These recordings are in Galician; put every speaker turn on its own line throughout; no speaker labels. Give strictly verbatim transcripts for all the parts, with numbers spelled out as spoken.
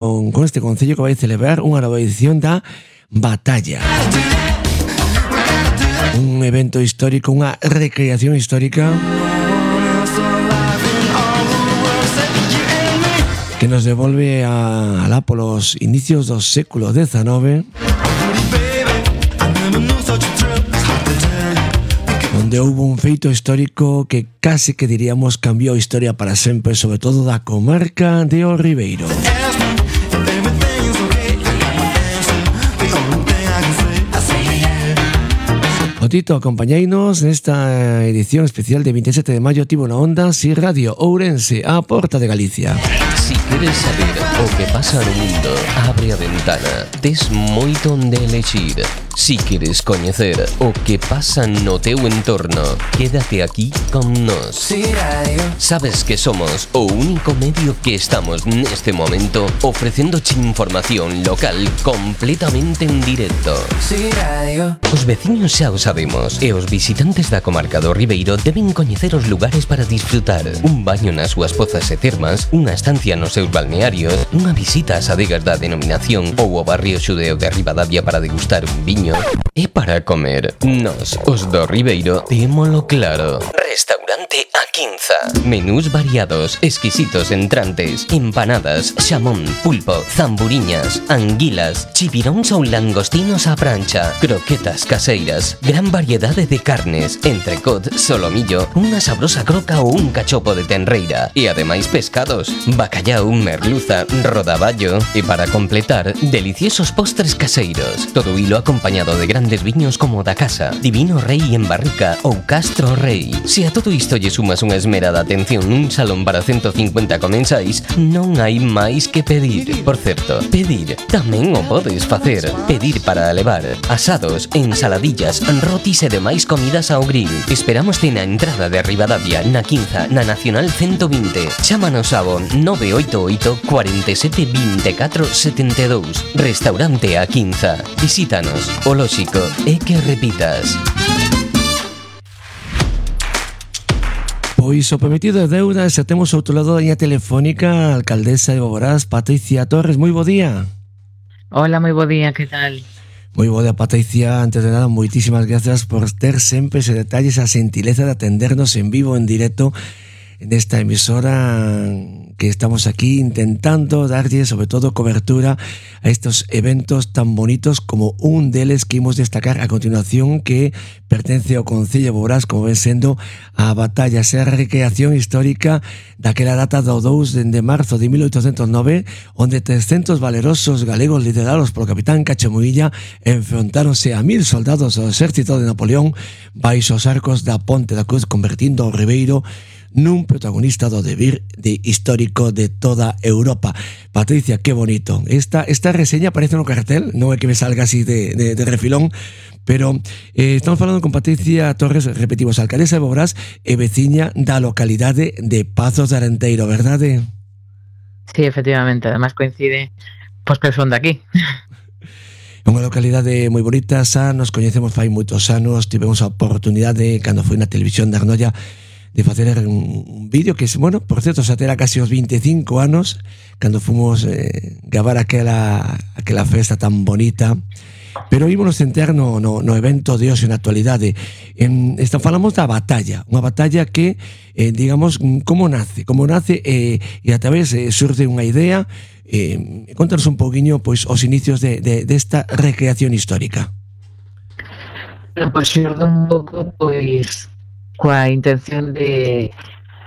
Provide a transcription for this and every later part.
con, con este concello que vai celebrar unha nova edición da Batalla. Un evento histórico, unha recreación histórica que nos devolve a, alá polos inicios do século diecinueve, onde houve un feito histórico que case que diríamos cambiou a historia para sempre, sobre todo da comarca de O Ribeiro. O Tito, acompañainos nesta edición especial de veinte e sete de maio. Tivo na onda Si Radio Ourense, a porta de Galicia.
Si queres saber o que pasa no mundo, abre a ventana. Tes moito onde elexir. Si queres coñecer o que pasa no teu entorno, quédate aquí con nós. Sabes que somos o único medio que estamos neste momento ofrecéndoche información local completamente en directo. Os veciños xa o sabemos, e os visitantes da comarca do Ribeiro deben coñecer os lugares para disfrutar. Un baño nas súas pozas e termas, unha estancia nos seus balnearios, unha visita ás adegas da denominación ou ao barrio xudeo de Ribadavia para degustar un viño. E para comer, nós, os do Ribeiro, témolo claro. Restaurante A Quinza. Menús variados, exquisitos entrantes, empanadas, xamón, pulpo, zamburiñas, anguilas, chipiróns ou langostinos á prancha, croquetas caseiras, gran variedade de carnes, entrecot, solomillo, unha sabrosa croca ou un cachopo de tenreira, e ademais pescados, bacallau, merluza, rodaballo, e para completar, deliciosos postres caseiros. Todo hilo acompañado de grandes viños como da casa, Divino Rei en barrica ou Castro Rei. Se a todo isto lle sumas unha esmerada atención nun salón para ciento cincuenta comensais, non hai máis que pedir. Por certo, pedir tamén o podes facer. Pedir para levar asados, ensaladillas, rotis e demais comidas ao grill. Esperámoste na entrada de Ribadavia, na Quinza, na Nacional ciento vinte. Chámanos ao nove oito oito, cuatro sete, dos catro, sete dous. Restaurante A Quinza. Visítanos. O lóxico é que repitas.
Pois o prometido é deuda, xa temos ao outro lado da liña telefónica a alcaldesa de Boborás, Patricia Torres. Moi bo día.
Hola, moi bo día, que tal?
Moi bo día, Patricia. Antes de nada, moitísimas gracias por ter sempre ese detalle, esa xentileza de atendernos en vivo, en directo, nesta emisora que estamos aquí intentando darlle sobre todo cobertura a estos eventos tan bonitos, como un deles que imos destacar a continuación, que pertence ao Concello de Boborás, como ven sendo a Batalla, esa recreación histórica daquela data do dous de marzo de mil oitocentos nove, onde trescentos valerosos galegos liderados polo capitán Cachemuilla enfrontáronse a mil soldados do exército de Napoleón baixo os arcos da Ponte da Cruz, convertindo o Ribeiro nun protagonista do devir de histórico de toda Europa. Patricia, qué bonito. Esta, esta reseña aparece no cartel, non é que me salga así de, de, de refilón, pero eh, estamos falando con Patricia Torres, repetimos, alcaldesa de Boborás e veciña da localidade de Pazos de Arenteiro, verdade?
Sí, efectivamente, además coincide pois que son de aquí.
É unha localidade moi bonita, xa nos coñecemos fai moitos anos, tivemos a oportunidade, cando foi na televisión de Arnoia, de facer un, un vídeo que, bueno, por certo, xa terá casi os veinticinco anos, cando fomos eh, gravar aquela, aquela festa tan bonita. Pero ímonos centrar no, no, no evento de hoxe, na actualidade. En, esta, falamos da batalla, unha batalla que, eh, digamos, como nace, como nace eh, e a través eh, surge unha idea. Eh, contanos un poquinho, pois, os inicios de, de, desta recreación histórica.
Bueno, pois xurde un pouco, pois, coa intención de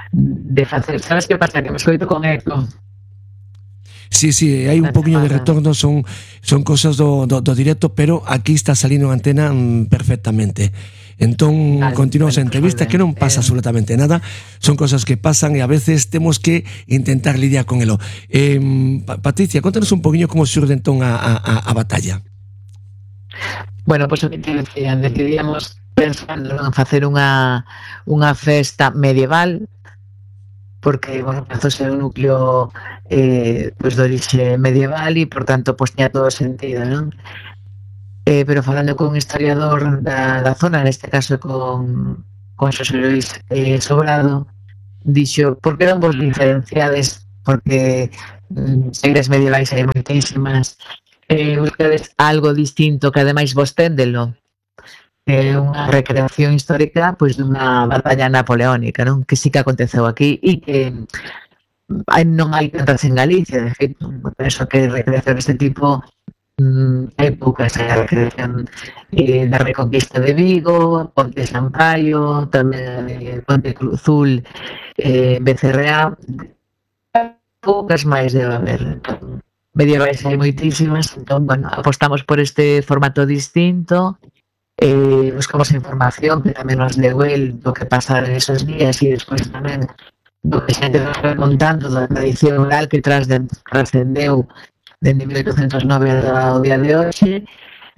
de facer, sabes que pasa? Que me escoito con eco.
Sí, sí, hai un poquinho de retorno, son son cosas do, do, do directo, pero aquí está salindo a antena mm, perfectamente. Entón, vale, continuamos bueno, a entrevista, que non pasa eh... absolutamente nada, son cosas que pasan e a veces temos que intentar lidiar con elo. Eh, Patricia, contanos un poquinho como xurde entón a, a, a batalla.
Bueno, pois pues, o que te decía, decidíamos pensando en facer unha unha festa medieval, porque, bueno, empezou a ser un núcleo eh, pues, de orixe medieval e, por tanto, pues, tiña todo sentido, non? Eh, pero falando con un historiador da, da zona, neste caso con, con Xosé Luis eh, Sobrado, dixo, por que non vos diferenciades? Porque series medievais hai moitísimas, eh, buscades algo distinto que ademais vos téndelo, é unha recreación histórica pois dunha batalla napoleónica, non? Que sí que aconteceu aquí e que hai, non hai tantas en Galicia, de feito, penso que recreación deste tipo mm, hai poucas, hai a recreación eh, da Reconquista de Vigo, Ponte Sampaio, tamén eh, Ponte Cruzul, eh, Becerreá, poucas máis debe haber. Medievais hai moitísimas, entón, bueno, apostamos por este formato distinto, eh, buscamos información que tamén nos deu el do que pasar en esos días e despois tamén do que xente nos vai contando da tradición oral que trascendeu dende mil oitocentos nove ao día de hoxe.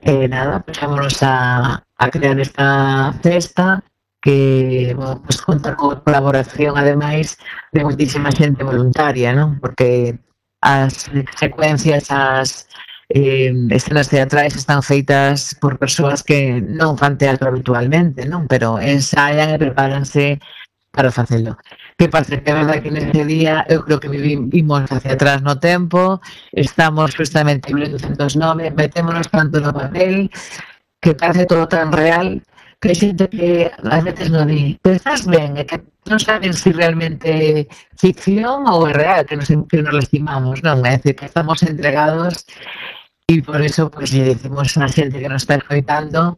Eh, nada, pasámonos a, a crear esta festa que, bueno, pues conta con colaboración ademais de moitísima xente voluntaria, non? Porque as secuencias, as eh, escenas teatrais están feitas por persoas que non fan teatro habitualmente, non? Pero ensaian e prepáranse para facelo. Que pasa? Que a verdade que neste día eu creo que vivimos hacia atrás no tempo, estamos justamente en mil oitocentos nove, metémonos tanto no papel que parece todo tan real que hai xente que ás veces non di, pero estás ben, é que non saben se si realmente ficción ou é real, que nos, que nos lastimamos, non? É dicir, que estamos entregados e por eso pues, lle decimos a xente que nos está escoitando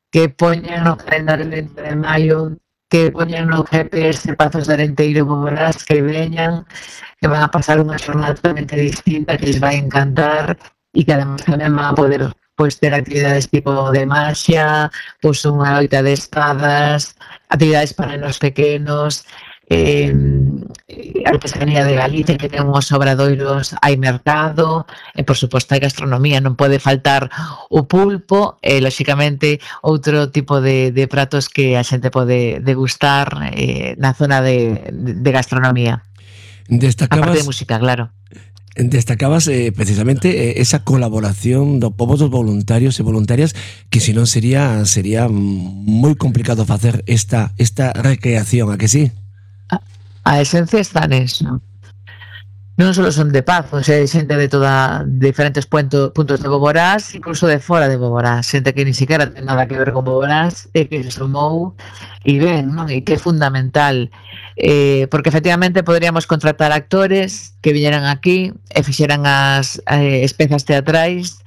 que poñan no calendario de maio, que poñan no G P S Pazos de Arenteiro Boborás, que veñan, que van a pasar unha xornada totalmente distinta, que les vai encantar e que además tamén van a poder pois ter actividades tipo de marxa, pois unha loita de espadas, actividades para os pequenos, eh, artesanía de Galicia, que ten uns obradoiros, hai mercado, e por suposto hai gastronomía, non pode faltar o pulpo, e lóxicamente outro tipo de, de pratos que a xente pode degustar eh, na zona de, de gastronomía.
Destacabas...
A parte de música, claro.
Destacabas eh, precisamente eh, esa colaboración do pobo dos voluntarios e voluntarias que se non sería sería moi complicado facer esta esta recreación, a que sí?
A, a esencia está neso. Non só son de Pazos, hai xente de toda de diferentes punto, puntos de Boborás, incluso de fora de Boborás, xente que ni siquiera ten nada que ver con Boborás e que se sumou e ben, non? E que é fundamental, eh, porque efectivamente poderíamos contratar actores que viñeran aquí e fixeran as eh, espezas teatrais,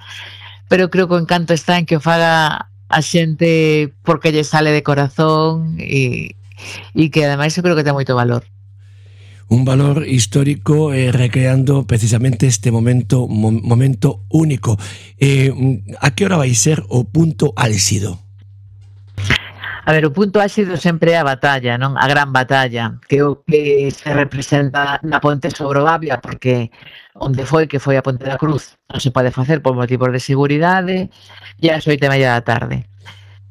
pero creo que o encanto está en que o faga a xente porque lle sale de corazón e, e que ademais eu creo que ten moito valor.
Un valor histórico eh, recreando precisamente este momento mo, momento único. Eh, a que hora vai ser o punto álxido?
A ver, o punto álxido sempre é a batalla, non? A gran batalla, que o que se representa na Ponte sobre o Avia, porque onde foi que foi a Ponte da Cruz non se pode facer por motivos de seguridade, e ás oito e media da tarde.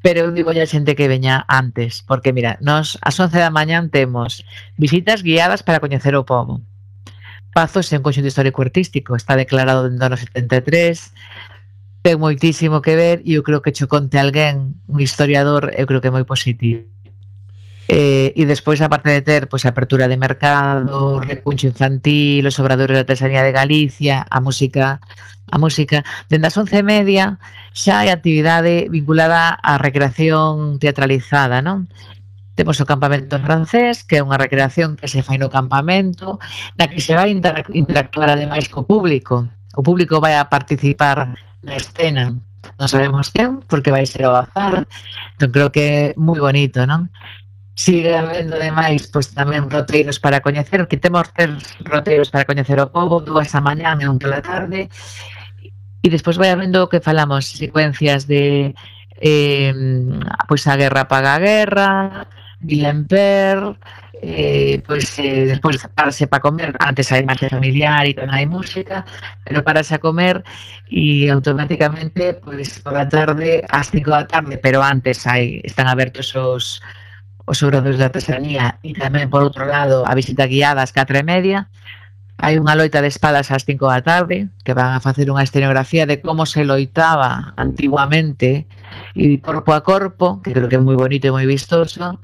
Pero eu digo a xente que veña antes, porque mira, nos ás once da mañán temos visitas guiadas para coñecer o pobo. Pazos é un conxunto histórico artístico, está declarado dentro do ano setenta e tres, ten moitísimo que ver e eu creo que cho conte alguén, un historiador, eu creo que é moi positivo. Eh, e despois, aparte de ter pois, a apertura de mercado, o recuncho infantil, os obradores de artesanía de Galicia, a música, a música, dende as once e media xa hai actividade vinculada á recreación teatralizada, non? Temos o campamento francés, que é unha recreación que se fai no campamento, na que se vai interactuar ademais co público. O público vai a participar na escena, non sabemos quen, porque vai ser ao azar, entón creo que é moi bonito, non? Sigue habendo ademais pois, tamén roteiros para coñecer, que temos tres roteiros para coñecer o pobo, dúas a mañán e un pola tarde, e despois vai habendo o que falamos, secuencias de eh, pois a guerra paga a guerra, Guillain-Père, eh, pois eh, despois parase para comer, antes hai máis familiar e tamén hai música, pero parase a comer e automáticamente pois por a tarde, ás cinco da tarde, pero antes hai están abertos os os obradores de artesanía e tamén por outro lado a visita guiada ás catro e media. Hai unha loita de espadas ás cinco da tarde que van a facer unha escenografía de como se loitaba antiguamente e corpo a corpo, que creo que é moi bonito e moi vistoso.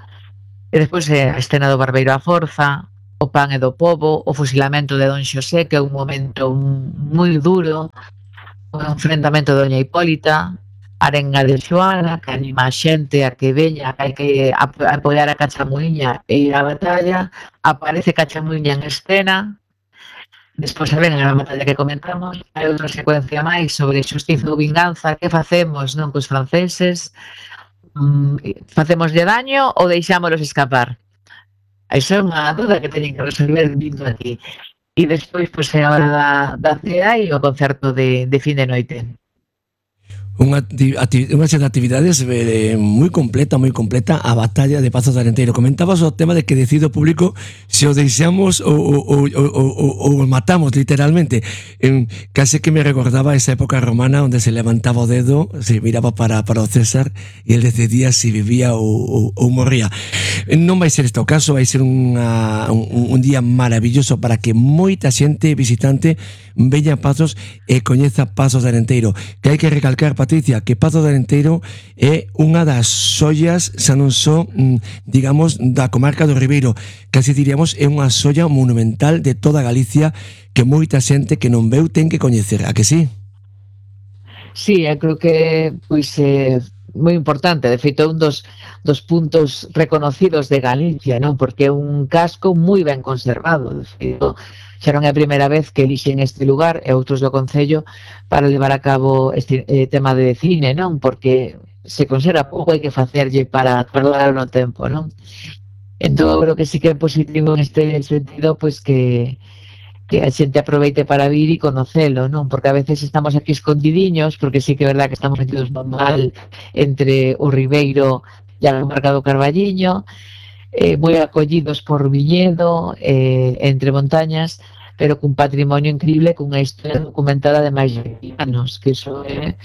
E despois eh, a escena do Barbeiro á Forza, o pan e do pobo, o fusilamento de Don Xosé, que é un momento moi duro, o enfrentamento de Doña Hipólita, a arenga de Xoana, que anima a xente a que veña, que hai que apoiar a Cachamuiña e ir á batalla. Aparece Cachamuiña en escena, despois a ven a batalla que comentamos, hai outra secuencia máis sobre xustiza ou vinganza, que facemos non cos franceses, mm, facemoslle daño ou deixámolos escapar? Iso é unha duda que teñen que resolver vindo aquí. E despois, pois, é a hora da, da cea e o concerto de, de fin de noite.
Unha, unha serie de actividades eh, moi completa, moi completa, a batalla de Pazos de Arenteiro. Comentabas o tema de que decido público se o deixamos ou, ou, ou, ou, ou o matamos literalmente. En, case que me recordaba esa época romana onde se levantaba o dedo, se miraba para, para o César e el decidía se vivía ou, ou, ou morría. Non vai ser este o caso, vai ser unha, un, un día maravilloso para que moita xente visitante veña a Pazos e coñeza Pazos de Arenteiro, que hai que recalcar, Patricia, que Pazos de Arenteiro é unha das xoias, xa non só, digamos, da comarca do Ribeiro, casi diríamos é unha xoia monumental de toda Galicia que moita xente que non veu ten que coñecer, a que sí?
Sí, eu creo que pois é moi importante, de feito un dos, dos puntos reconocidos de Galicia, non? Porque é un casco moi ben conservado, de feito xa non é a primeira vez que elixen este lugar e outros do Concello para levar a cabo este eh, tema de cine, non? Porque se conserva pouco, hai que facerlle para perdoar no tempo, non? Entón, creo que sí que é positivo en este sentido, pois que que a xente aproveite para vir e conocelo, non? Porque a veces estamos aquí escondidiños, porque sí que é verdad que estamos metidos mal entre o Ribeiro e a comarca do Carballiño, eh, moi acollidos por Viñedo, eh, entre montañas, pero cun patrimonio increíble, cunha historia documentada de máis de vinte anos, que iso é,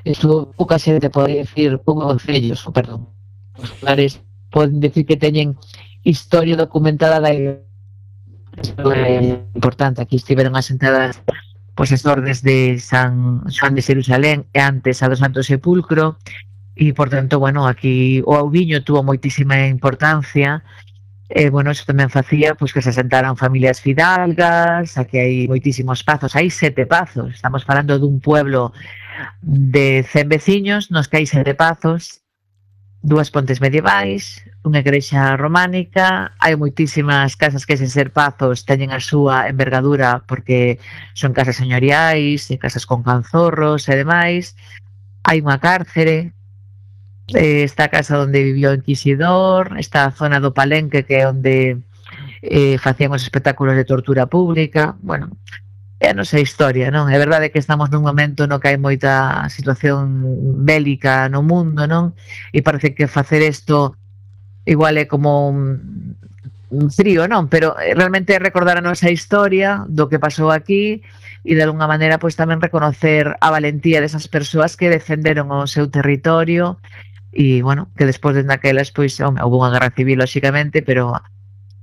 iso pouca xente pode decir, pouco concellos, perdón, os lugares poden decir que teñen historia documentada da isto é importante. Aquí estiveron asentadas pois as ordes de San Xoán de Xerusalén e antes a do Santo Sepulcro, e por tanto, bueno, aquí o Auviño tuvo moitísima importancia, e bueno, eso tamén facía pois que se asentaran familias fidalgas. Aquí hai moitísimos pazos, hai sete pazos, estamos falando dun pueblo de cen veciños nos que hai sete pazos, dúas pontes medievais, unha igrexa románica, hai moitísimas casas que sen ser pazos teñen a súa envergadura porque son casas señoriais e casas con canzorros e demais. Hai unha cárcere, eh, está a casa onde vivió o Inquisidor, está a zona do Palenque, que é onde eh, facían os espectáculos de tortura pública. Bueno, é a nosa historia, non? É verdade que estamos nun momento no que hai moita situación bélica no mundo, non? E parece que facer isto igual é como un, un frío, non? Pero realmente é recordar a nosa historia do que pasou aquí e de alguna maneira pois tamén reconocer a valentía desas persoas que defenderon o seu territorio e, bueno, que despois de naquelas pois houve unha guerra civil, lóxicamente, pero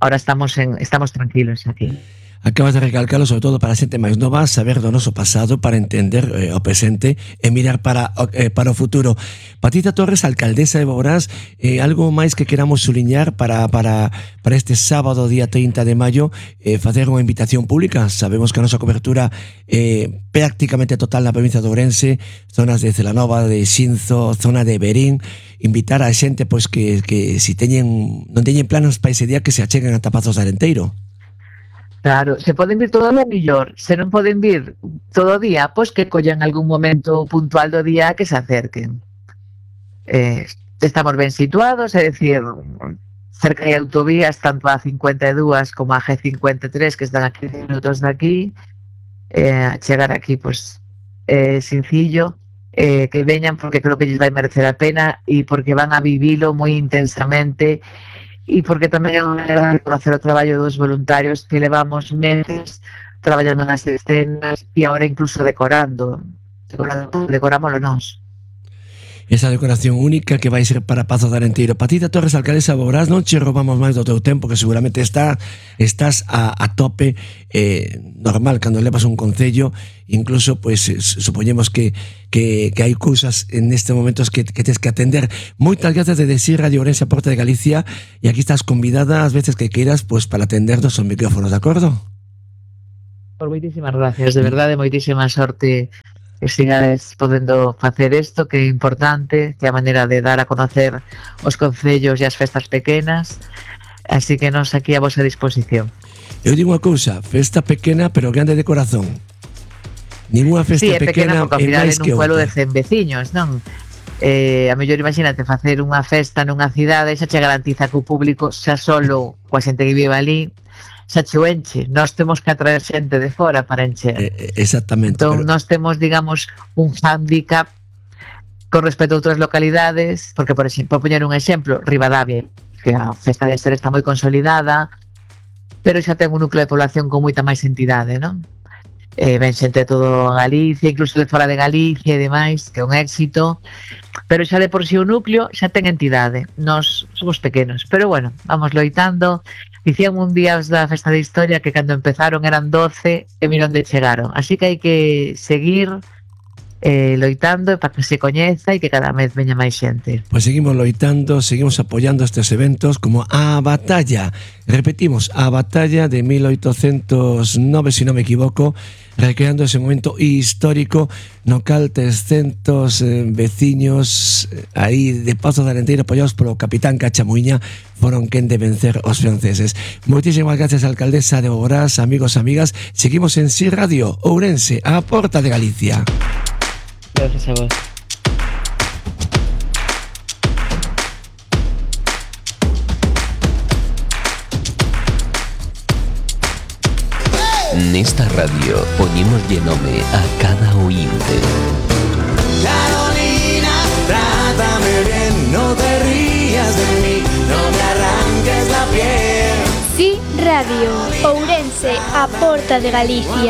ahora estamos en estamos tranquilos aquí.
Acabas de recalcarlo, sobre todo para a xente máis nova, saber do noso pasado para entender eh, o presente e mirar para, eh, para o futuro. Patricia Torres, alcaldesa de Boborás, eh, algo máis que queramos suliñar para, para, para este sábado, día trinta de maio, eh, facer unha invitación pública. Sabemos que a nosa cobertura é eh, prácticamente total na provincia de Ourense, zonas de Celanova, de Xinzo, zona de Berín. Invitar a xente pois que, que si teñen, non teñen planos para ese día, que se acheguen a Pazos de Arenteiro.
Claro, se poden vir todo o mellor, se non poden vir todo o día, pois que collan algún momento puntual do día que se acerquen. Eh, estamos ben situados, é dicir, cerca de autovías, tanto a cincuenta e dúas como a G cincuenta e tres, que están a quince minutos de aquí, eh, chegar aquí, pois, é eh, sencillo, eh, que veñan porque creo que lles vai merecer a pena e porque van a vivilo moi intensamente, e porque tamén é unha maneira de reconocer o traballo dos voluntarios que levamos meses traballando nas escenas e agora incluso decorando decorando, decorámoslo nós.
esa decoración única que vai ser para Pazo de Arenteiro. Patita Torres, alcaldesa Boborás, non che roubamos máis do teu tempo, que seguramente está, estás a, a tope, eh, normal, cando levas un concello, incluso, pues, supoñemos que, que, que hai cousas en este momento que, que tens que atender. Moitas grazas de decir Radio Ourense a Porta de Galicia, e aquí estás convidada as veces que queiras, pues, para atendernos os micrófonos, de acordo?
Por moitísimas gracias, de verdade, moitísima sorte que sigades podendo facer isto, que é importante, que é a maneira de dar a conocer os concellos e as festas pequenas, así que nos aquí a vosa disposición.
Eu digo unha cousa, festa pequena pero grande de corazón. Ninguna festa
sí, é
pequena,
pequena porque ao final é
máis que
nun pueblo
outra.
de cen veciños, non? Eh, a mellor imagínate facer unha festa nunha cidade, xa che garantiza que o público xa solo coa xente que vive ali xa che o enche. Nós temos que atraer xente de fora para encher.
Eh, exactamente.
Entón,
pero...
nós temos, digamos, un handicap con respecto a outras localidades, porque, por exemplo, por poñer un exemplo, Ribadavia, que a festa de Ester está moi consolidada, pero xa ten un núcleo de población con moita máis entidade, non? Eh, ven xente de todo Galicia, incluso de fora de Galicia e demais, que é un éxito, pero xa de por si o núcleo xa ten entidade. Nós somos pequenos, pero bueno, vamos loitando. Dicían un día os da Festa de Historia que cando empezaron eran doce e mira onde chegaron, así que hai que seguir eh, loitando para que se coñeza e que cada vez veña máis xente.
Pois seguimos loitando, seguimos apoiando estes eventos como a Batalla. Repetimos, a Batalla de mil oitocentos nove, se non me equivoco, recreando ese momento histórico no cal trescentos eh, veciños eh, aí de Pazo de Arenteiro apoiados polo capitán Cachamuiña foron quen de vencer os franceses. Moitísimas gracias, alcaldesa de Boborás, amigos, amigas. Seguimos en Si Radio Ourense, a Porta de Galicia.
Gracias a vos.
Nesta radio poñémoslle nome a cada oínte.
Carolina, trátame bien, no te rías de mí, no me arranques la piel.
Si Radio Ourense, a Porta de Galicia.